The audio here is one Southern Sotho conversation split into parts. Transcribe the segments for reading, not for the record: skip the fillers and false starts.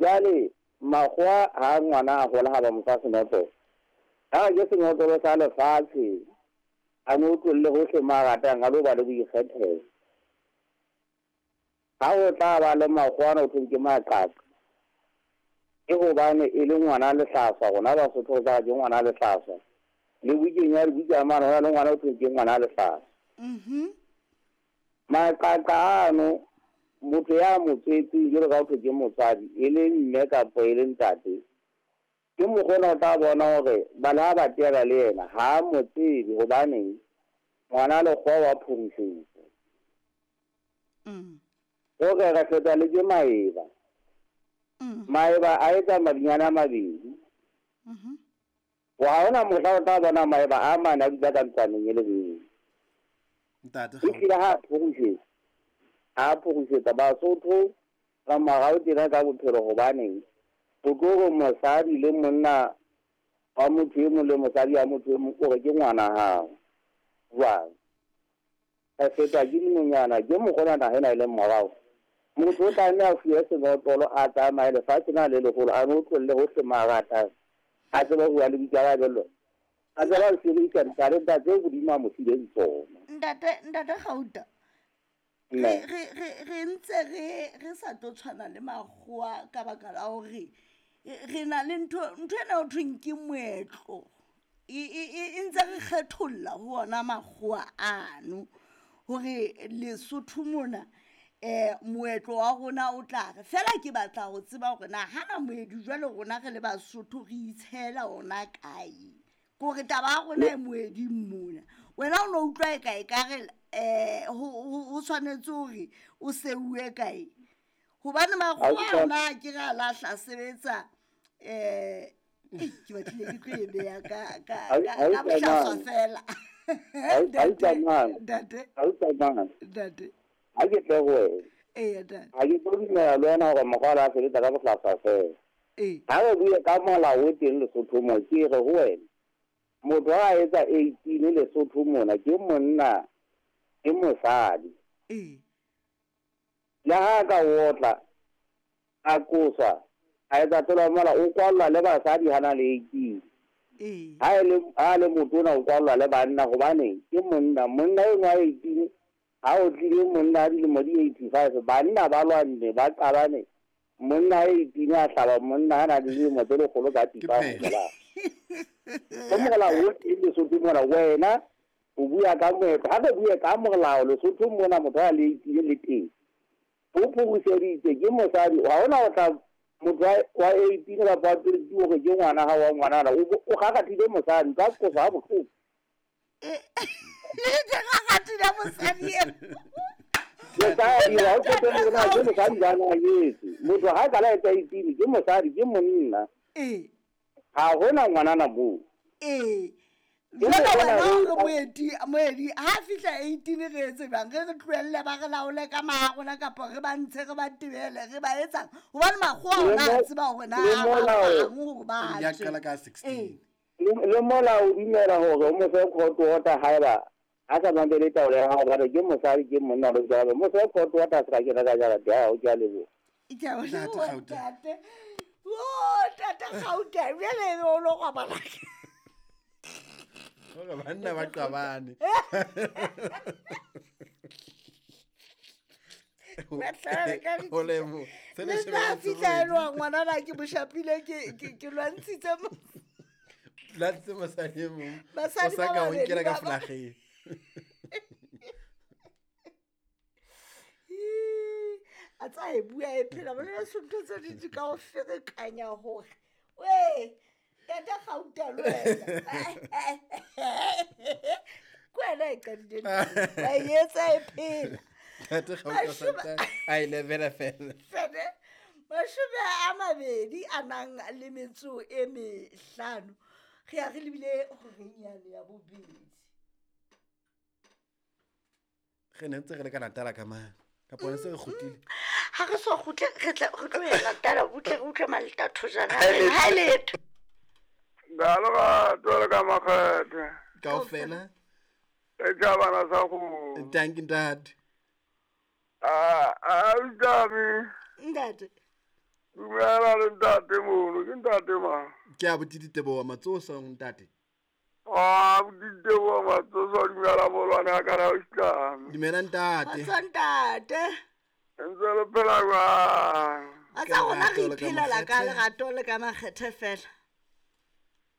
Jwale makgowa ha ngwana a hola ha ba mo fa senotlolo. Ha re ke senotlolo sa lefatshe, a no tlolle hohle mo a ratang, a lo ba le boikgethelo. Ha ho tla ba le makgowa ana ho thweng ke maqaqa, ke hobane e le ngwana lehlaswa. Rona Basotho re tla re ke ngwana lehlaswa. Le bukeng ya dibuka mane ho na le ngwana ho thweng ke ngwana lehlaswa. Maqaqa ano, motho ya mo tswetseng jwalo ka ho thwe ke motswadi, e le mme kapa e le ntate, ke mokgwa ona o tla bona hore bana ha ba teana le yena ha a mo tsebe, hobaneng ngwana lekgowa wa phurusetsa. Hore re fetwa le ke maeba. Maeba a etsa madinyane a mabedi. Ha hona mohla o tla bona maeba a mane a dula ka ntlwaneng e le nngwe. Ntate E hlile ha a phurusetsa, ha a phurusetsa Basotho ba morao tjena ka bophelo, hobaneng o tlo re mosadi le monna wa motho e mong le mosadi ya motho e mong o re ke ngwana hao. Jwang? Re fetwa ke dinonyana, ke mokgwa ona naha ena e leng morao. Motho o tlameha a fuwe senotlolo, a tsamaye lefatshe na le leholo, a no tlolle hohle mo a ratang, a tsebe ho bua le boikarabello, a tsebe ho sebedisa ditalenta tseo Modimo a mo fileng tsona. Ntate, Ntate Gauta, Mme. re ntse re sa tlo tshwana le makgowa ka baka la hore re na le ntho ena ho thweng ke moetlo. E ntse re kgetholla ho ona makgowa ano hore Lesotho mona, moetlo wa rona o tla re. Feela ke batla ho tseba hore na hana moedi jwale rona re le Basotho re itshela ona kae? Ke hore taba ya rona e moeding mona. Wena o no utlwa e kae ka re, ho tshwanetse hore o seuwe kae? Hobane makgowa ona a ke re a lahla sebetsa, ke batlile ke tlo e beha ka bohlaswa fela. Ntate. Ntate. Ha ke tle ho wena. Eya, ntate. Ha ke tlo dumela le wena hore mokgwa o a sebetsa ka bohlaswa fela. Ee. Ha re bue ka molao o teng Lesotho mo, ke re ho wena, motho ha a etsa 18 Lesotho mona, ke monna, ke mosadi. Ee. Le ha ka otla, a qoswa, a etsa tlolo ya molao, o kwallwa le basadi ha na le 18. Ee. Ha e le, ha le motona o kwallwa le banna, hobane ke monna. Monna enwa wa 18, ha o tlile monna a dilemo di 85, banna ba lwanne, ba qabane. Monna a 18 a hlaba monna a na le dilemo tse lekgolo ka Ke pipa ho phetho. mola. Ho molao o teng Lesotho mona, wena o bua ka moetlo. Ha re bue ka molao Lesotho mona, motho a le 18 le teng. O phuruseditse ke mosadi, ha hona ho tla motho wa 18 kapa wa 20 hore ke ngwana hao wa ngwanana, o kgakgathile mosadi, ka qoso ha bohloko. Ke kgakgathile mosadi eo. Mosadi, ha o qete le hore na ke mosadi ba na nyetse. Motho ha ka la etsa 18, ke mosadi, ke monna. Ee. Ha hona ngwanana moo. Ee. Ke Jwale mokgwa wena ona o re o- moedi, ha fihla 18 re etse jwang? Re re tlohelle ba re laole ka maha rona kapa re ba ntshe, re ba tebele, re ba etsang? Hobane makgowa Le ona a mo- tseba hore na le ba molao- bang hore ba Ya tswe. qala ka 16. Ee. Le molao o dumela hore o mo fe court order haeba a sa mamele taolo ya hao, hobane ke mosadi, ke monna, le jwalo. Mo fe court order a se ka kena ka jarete ya hao, ke a leboha. Ke a Ntate leboha, Gauta. ntate. Oh, ntate Gauta, jwale o lo robala. Hore banna ba qabane. Ho leboha. Se Le ne tla shebelletse fihla moedi. elwa ngwana na ke mo shapile, ke lwantshitse mo- Lwantshitse mosadi e mong. Basadi O sa ba ka o babedi nkela ka ba ba- flageng. A tsa e bua e phela, bona le ntho tse ding di ka o ferekanya hore, wee, ntate Gauta le wena. Ke wena e qadileng ntho eo, wa e etsa e phela. Ntate Gauta Mashome- santsa a e lebela fela. Fene, mashome a mabedi a nang le metso e mehlano. Re ya re lebile horeng yane ya bobedi. Re ne ntse re le ka Natala ka mane. Kapa ne se re kgutlile? Ha re so kgutle, re tla, re tlo ya Natala, butle re utlwe Malta Thojana. Ha letho. Ka lerato le ka makgethe. Kaofela. E tla bana sa go. Thank you, ntate. A, a, utame. Ntate. Dumela le ntate mono, ke ntate mang? Ke abuti Diteboho Matsoso ntate. Ah, Diteboho Matsoso, dumela molwane a ka ra o itlame. Dumela ntate. Kgotso ntate. Ntse le phela jwang? A tsa rona re Lerato le ka iphelela ka makgethe. lerato le ka makgethe fela.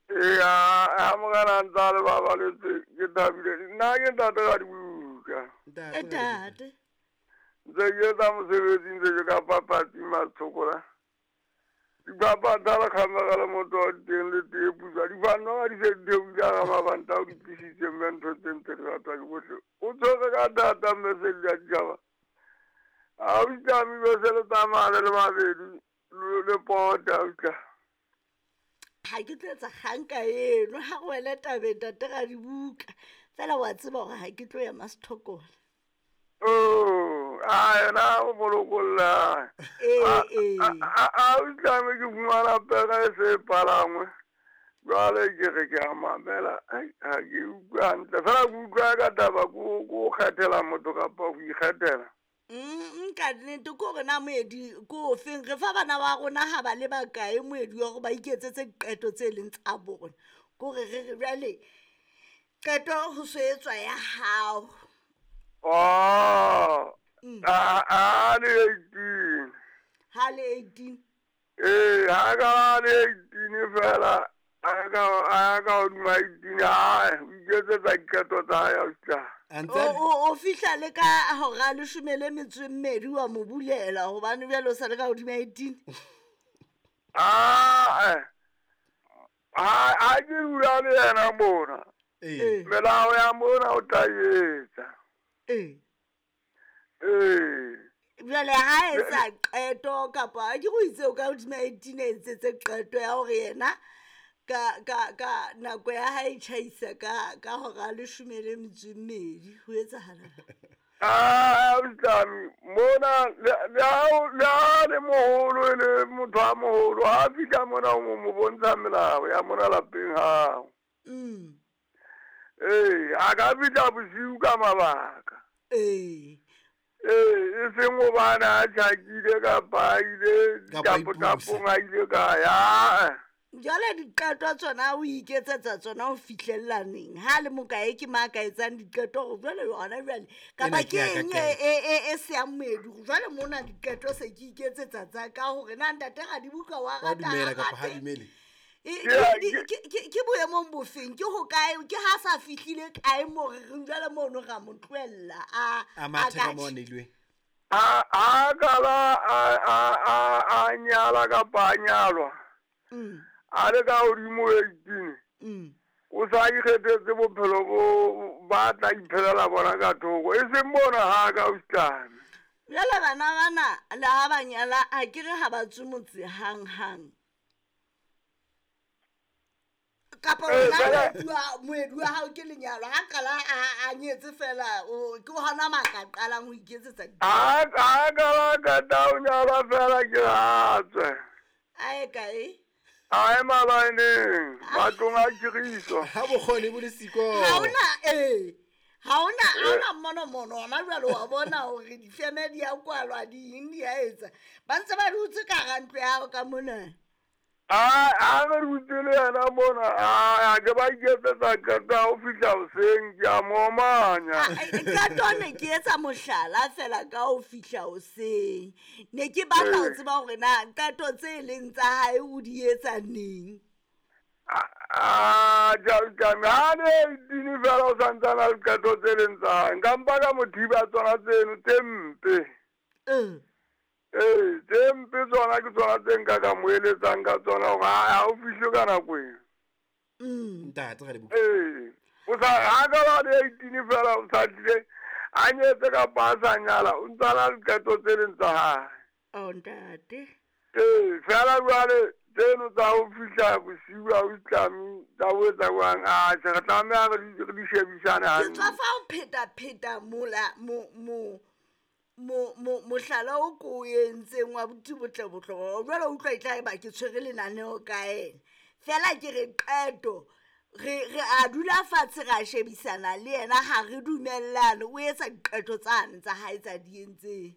Eya, ha morena a ntse a le babaletse, ke thabile. Nna ke ntate ka dibuka. Ntate. E tate. Ntse ke etsa mosebetsi ntse ke ka papatsi matshokola. Dipapatsa le kgamega le motho wa teng le tee putswa. Dibanna di se di theohile hara mabanta ao di tlisitse mme ntho tse ntse di ratwa ke bohle. O tshwere ka thata mme se di a ditjhaba. Ha o itlame be se le tsamaya le le babedi le pota o tla. Ga ke tlo etsa kgang ka eno ha go wele tabeng tate ga dibuka. Fela wa tseba gore ga ke tlo ya Masthokola. Oh, a yena o molokolla. Ee ee. A o itlame ke fumana pere e se e palangwe. Jwale ke re ke a mamela, ai, ha ke utlwe hantle. Fela ke utlwa ka taba ko ko kgethela motho kapa ho ikgethela. Ka nnete ke gore na moedi ke ofeng re fa bana ba rona ha ba le bakae moedi wa gore ba iketsetse diqeto tse leng tsa bona. Ke gore re re jwale qeto ho so etswa ya hao. Oh, Mm. a le 18. Ha le 18. Ee, ha ka ba le 18 fela, a ka hodima 18, hai, o iketsetsa diqeto tsa hae ausi tla. A ntse O a- o fihla le ka hora leshome le metso e mmedi wa mo bulela hobane jwale o sa le ka hodima 18. Ah, ha ke dula le yena mona. Ee. Melao ya mona o tla e etsa. Ee. Ee. Jwale ha etsa qeto kapa ke go itse o ka hodima 18 a etsetse qeto ya hore yena ka nako ya hae e tjhaisa ka hora leshome le metso e mmedi ho etsahala. Ah, ausi mona le ha le moholo e le motho a moholo ha fihla mona o mo bontsha melao ya mona lapeng hao. Mm. Ee, a ka fihla bosiu ka mabaka. Ee. Ee, e seng hobane a tjhakile kapa a ile Kapa a tapotapong a ile kae, aa. Jwale diqeto tsona o iketsetsa tsona ho fihlella neng? Ha le mokae ke mang a ka etsang diqeto hore jwale hona jwale kapa Ena ke ke ya ka eng kae? e seyang moedi hore jwale mona diqeto se ke iketsetsa tsa ka hore na ntate Radibuka wa Wa rata dumela ha kapa ha rate? dumele? Ke boemong bofeng? Ke hokae? Ke ha sa fihlile kae moo re reng jwale mono ra mo tlohella A a mathe ka ka moo a tjhe? neilweng. A kala a nyala kapa a nyalwa. Mm, A le ka hodimo 18. mm. O sa ikgethetse bophelo bo ba tla iphelela bona ka thoko. E seng mona ha ka ausi Tlame. Jwale bana bana le ha ba nyala ha ke re ha ba tswe motse hang-hang. Kapa Ee, wena fela- moedi wa hao ke lenyalo ha qala a nyetse fela ke hona mo a ka qalang ho iketsetsa Ha kala qeta ho nyalwa fela ke ha tswe. A ye kae? A ye malaeneng, matlong a khiriso. Ha bokgoni bo le siko. Ha hona ee. Ha hona mmono-mono hona jwale wa bona hore difeme di a kwalwa di eng di a etsa. Ba ntse ba dutse ka hara ntlo ya hao ka mona. A re dutse le yena mona, a ke ba iketsetsa qeto ya ho fihla hoseng, ke a mo omanya. Qeto ne ke etsa mohlala fela ka ho fihla hoseng. Ne ke batla ho Ee. tseba hore na qeto tse leng tsa hae o di etsa neng. Ah, Tlame, ha le 18 fela o santsane a le qeto tse leng tsa hae. Nka mpa ka mo thiba tsona tseno tse mpe. Eh. Ee, tse mpe tsona ke tsona tse nka ka mo eletsang ka tsona hore ha o fihle ka nako ena. Mm. Ntate Radibuka. Ee, o sa ha ka ba le 18 fela o sa tlile a nyetse kapa a sa nyala, o ntsa na le qeto tse leng tsa hae. Oh ntate. Ee, fela jwale tseno tsa ho fihla bosiu ha o itlame tsa ho etsa jwang, atjhe re tlameha re di shebisane Ke hantle. tswa fa ho pheta-pheta mola mo mo mo mo mohlala o ko o entseng wa Buti Botlebotle hore jwale o utlwa e tla eba ke tshwere lenaneo ka ena. Fela ke re qeto re a dula fatshe ra shebisana le yena ha re dumellane o etsa diqeto tsane tsa hae tsa di entseng.